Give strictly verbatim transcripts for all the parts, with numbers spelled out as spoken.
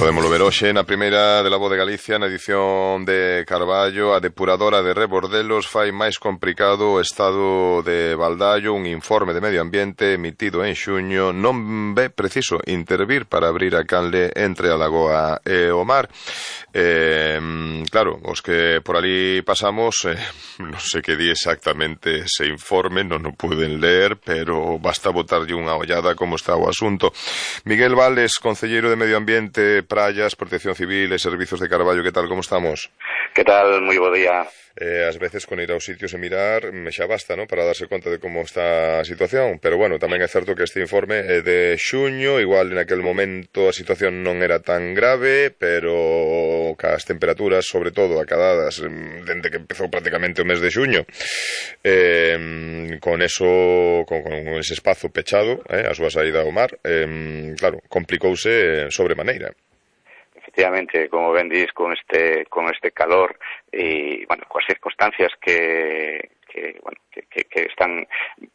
Podémolo ver hoxe na primeira de La Voz de Galicia, na edición de Carballo. A depuradora de Rebordelos fai máis complicado o estado de Baldaio. Un informe de medio ambiente emitido en xuño non ve preciso intervir para abrir a canle entre a lagoa e o mar. Eh, claro, os que por ali pasamos, eh, non sei que di exactamente ese informe, non o puden ler, pero basta botarlle unha ollada como está o asunto. Miguel Vales, concelleiro de Medio Ambiente, Praias, Protección Civil e Servizos de Carballo, que tal, como estamos? Que tal, moi bo día. Eh, ás veces con ir aos sitios e mirar me xa basta, ¿no?, para darse conta de como está a situación, pero bueno, tamén é certo que este informe é de xuño, igual en aquel momento a situación non era tan grave, pero cas temperaturas, sobre todo, acadadas dende que empezou prácticamente o mes de xuño, eh, con eso, con, con ese espazo pechado, eh, a súa saída ao mar, eh, claro, complicouse sobremaneira. Efectivamente, como ben dis, con este con este calor e, bueno, coas circunstancias que que, bueno, que, que, que están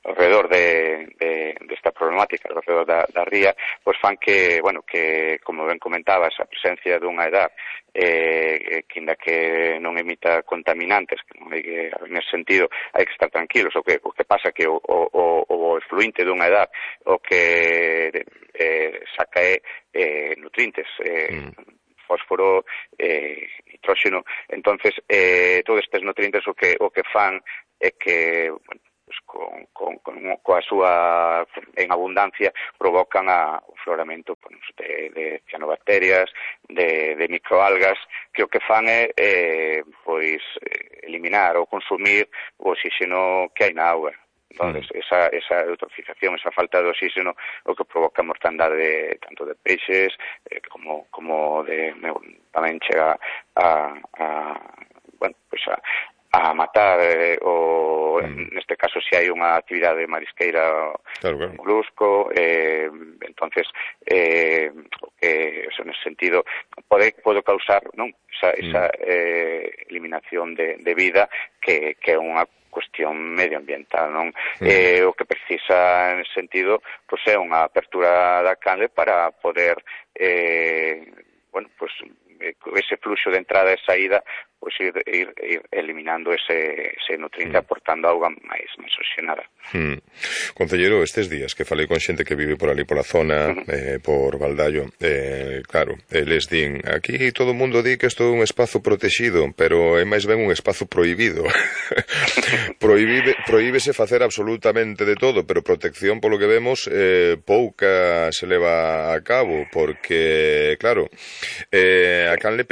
alrededor de, de, de esta problemática, alrededor da, da ría, pois fan que, bueno, que, como ben comentabas, a presencia dunha edad eh, que, inda que non emita contaminantes, que non hai que, nesse sentido, hai que estar tranquilos. O que, o que pasa que o, o, o efluinte dunha edad o que eh, saca é eh, nutrientes, eh, mm. fósforo, eh, nitróxeno. Entonces, eh, todos estes nutrientes o que o que fan é que, bueno, pues con, con, con coa súa en abundancia provocan a, o floramento, pues, de, de cianobacterias, de, de microalgas, que o que fan é eh, pois eliminar ou consumir o oxígeno que hai na auga. Entonces, esa, esa eutrofización, esa falta de oxígeno, o que provoca mortandade de, tanto de peixes eh, como, como de, tamén chega a, a bueno, pues a, a matar eh, o, mm. neste caso, se hai unha actividade marisqueira, claro, claro. molusco, eh, entonces, eh, o que, eso, nesse sentido, pode, pode causar, non, esa, mm. esa eh, eliminación de, de vida que, que é unha cuestión medioambiental, non? Mm. Eh, o que precisa, en ese sentido, pois é unha apertura da canle para poder, eh, bueno, pois, ese fluxo de entrada e saída, pois ir, ir, ir eliminando ese, ese nutriente, mm. aportando auga máis, máis oxigenada. Mm. Concelleiro, estes días que falei con xente que vive por ali pola zona, uh -huh. eh, por Baldaio, eh, claro, eles din, aquí todo o mundo di que isto é un espazo protexido, pero é máis ben un espazo prohibido. Prohíbe, prohíbese facer absolutamente de todo, pero protección, polo que vemos, eh, pouca se leva a cabo, porque, claro, eh, a canle